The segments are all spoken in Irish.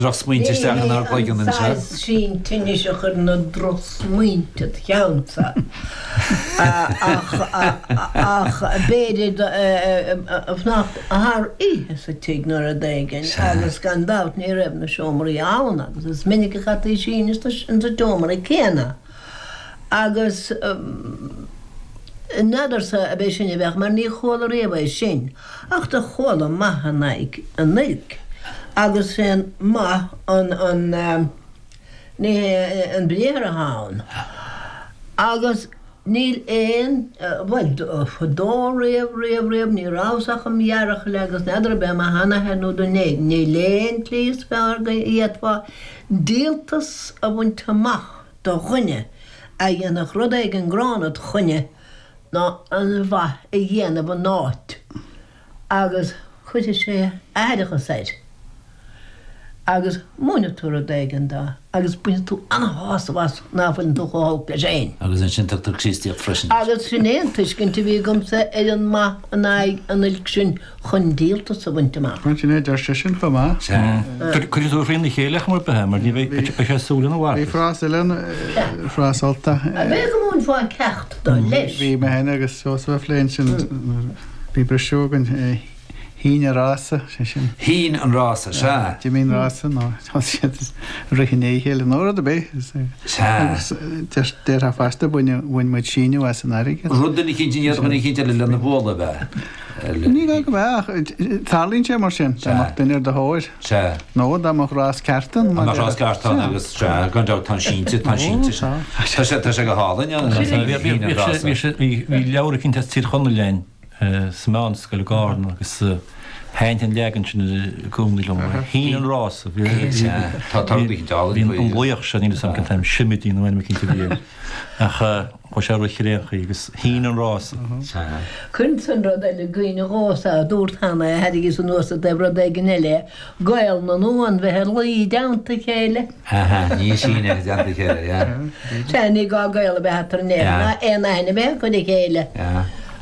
Drochsmaointe isteach inár gcloigeann anseo. Ní hé an saghas sin tinnis a chuireann na drochsmaointe id cheannsa, ach ach b'fhéidir fanacht thar oíche sa tigh nó rud éigin agus gan dabht ní raibh na seomraí ann agus is minic a chaití síneadh insa seomra céanna agus n'fheadarsa ab é sin a bheadh mar ní chuala riamh é sin. Ach do chuala maith in aghaidh an oilc, agus sé an maith an, an, ní hé an briathar atá ann. Agus níl aon, bhuel, fadó riamh, riamh, riamh, ní rabhas ach im dhearachaill agus n'fheadar ab é mo sheanathair nó duine éigin, níl aon tslí is fearr go bhféadfá díoltas a bhaint amach do dhuine a dhéanfadh rud éigin gránna id choinne ná an mhaith a dhéanamh in áit agus cuirfidh sé aithreachas air agus múinfidh tú rud éigin dó agus bainfidh tú ana-shásamh as ná fuileann tú chomh holc leis féin. Agus ansin tugtar Críostaíocht freisin air. Agus sin é an tuiscint a bhí agamsa ar an maith in aghaidh an oilc sin chun díoltas a bhaint amach. Sin é, deir seisean chomh maith. Sea. Cuirfidh tú thrína chéile ar chuma ar bith é, mar ní bheidh, beidh sé ag súil lena mharcas. Bhí frás eile ann, frás Ultach. B'fhéidir go múinfeá ceacht dó leis. Bhí mé féin agus Seosamh a phlé ansin, bhí briseadh againn, shín an rása, sé sin. Shín an rása, sea. D'imigh an rása nó thosaigh siad ag rith i ndiaidh a chéile nó rud ar bith. Sea. Agus déarfá fosta, bhain muid síneadh as an airgead. Rud eicínt i ndiaidh dhuine eicínt eile lena bhualadh, ab ea? Ní gá go mbeadh, ach tarlaíonn sé mar sin, dá mbeadh duine ar do thóir. Sea. Nó dá mbeadh rás ceart ann. Dá mbeadh rás ceart ann agus, sea, gan dabht tá an sínte, tá an sínte sin. Tá sé, tá sé go hálainn an rása. Bhí leabhar eicínt as Tír Chonaill againn sa mheánscoil i gCarna agus thaitin an leagan sin i gcónaí liom. Shín an rása. Sea, tá rud eicínt álainn faoi. Bhí an laoch seo, níl 'fhios a'm cén t-ainm, Simidí nó ainm eicínt a bhí air. Ach chuaigh sé a rith ar aon chaoi agus shín an rása. Sea. Cuireann an rud eile i gcuimhne dhomhsa a dúrt cheana é, thairrigíos anuas i dtaobh rud éigin eile é, gaol na n-uan bheith ag luí i dteannta a chéile. Aha, ní síneadh i dteannta a chéile, yeah. Sea, ní gá gaol a bheith eatarthu in aon, ná aon aithne a bheith acu ar a chéile,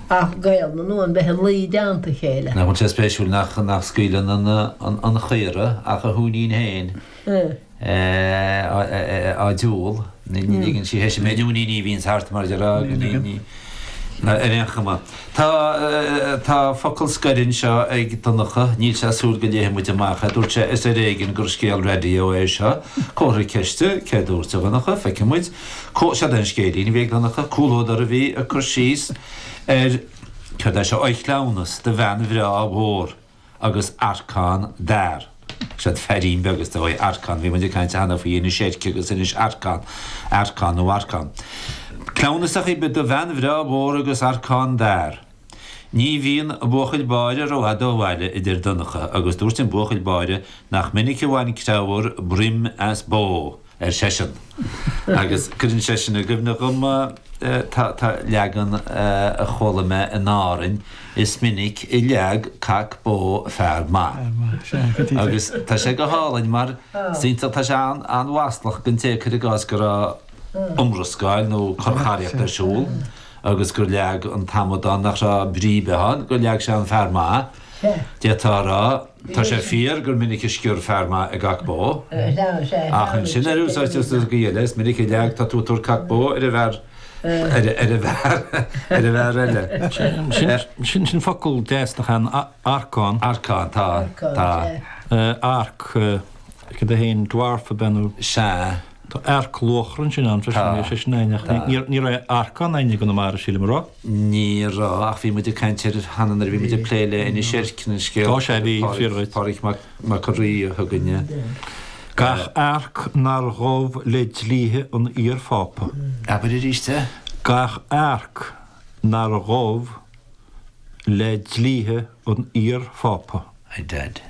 ach gaol na n-uan bheith ag luí i dteannta a chéile. Nach bhfuil sé spéisiúil nach, nach scaoileann an, an, an chaora ach a huainín féin. á diúl. Ní ligeann sí théis an méid uainíní a bhíonns thart mar a déarfá ar aon chuma. Tá tá focal scoir anseo ag Donncha, níl sé ag súil go léifidh muid amach é, dúirt sé is ar éigean gur scéal raidió é seo. Comhartha ceiste, cé dúirt a Dhonncha, feicfidh muid. Seod é an scéilín a bhí ag Donncha, comhluadar a bhí ag cur síos ar céard é seo, oidhchleamhnas do bhean bhreá mhór. agus arcán d'fhear. Seod feairín beag is dóigh, arcán, bhí muid ag caint cheana faoi Inis Eirc agus Inis Arcán, Arcán nó Arcán. Cleamhnas ar chaoi ar bith do bhean bhreá mhór agus arcán d'fhear. Ní bhíonn buachaill báire rófhada ó bhaile, a deir Donncha, agus dúirt an buachaill báire nach minic a bhain creabhar broim as bó. ar seisean. Agus cuireann seisean i gcuimhne dhom, tá leagan a chuala mé in Árainn, is minic a leag cac bó fear maith. Agus tá sé go hálainn mar is iontach, tá sé an-mhaslach don té cuir i gcás go raibh iomrascáil nó corrcharaíocht ar siúl agus gur leag an t-amadán nach raibh brí ar bith ann, gur leag sé an fear maith. D'fhéadfá a rá. Tá sé fíor gur minic a sciorr fear maith i gcac bó, ach ansin ar úsáidtear sa gcaoi eile, is minic a leag tá tú ag tabhairt cac bó ar an bhfear ar an bhfear ar an bhfear eile. Sin sin focal deas nach ea arcán. Arcán, tá, tá. Arc, cad é féin, dwarf ab ea nó? Sea. Tá earc luachra ansin ann freisin, níl sé sin againn ach ní raibh arcán againn i gConamara, sílim, an raibh? Ní raibh, ach bhí muid ag caint air cheana nuair a bhí muid ag plé le Inis Eirc, an scéal Tá sé, bhí, fíor dhuit. Pádraig Mac an Rí a thug againne. Gach earc nár ghabh le dlíthe an iar-Phápa. Abair arís é. Gach earc nár ghabh le dlíthe an iar-Phápa. I dad.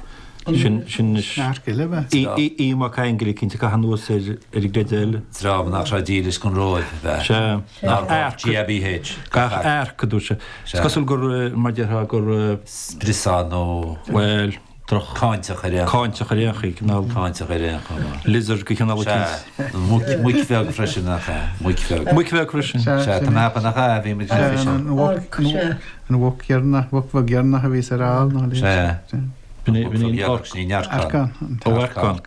Sin, sin anois. Earc eile ab ea? Aodh Mac Aingil eicínt ag caitheamh anuas ar ar an gcreideamh eile. Dream nach raibh dílis don Róimh ab ea? Sea. Nár ghabh GABH. Gach earc, a dúirt sé. Is cosúil gur, mar déarfá, gur. Spriosán nó. Bhuel, droch. Cáinteach ar aon. Cáinteach ar aon chaoi, cineál. Cáinteach ar aon chuma. Lizard de chineál eicínt. Sea. Muic, muic bheag freisin, nach ea? Muic bheag. Muic bheag freisin. Sea, tá mé ag ceapadh nach ea, bhí muid Sea, an mhuc, An mhuc dheireanach, mhuc bheag dheireanach a bhí sa ál nó a leithéid. Sea. B'in é an Arcán. Ó Arcán.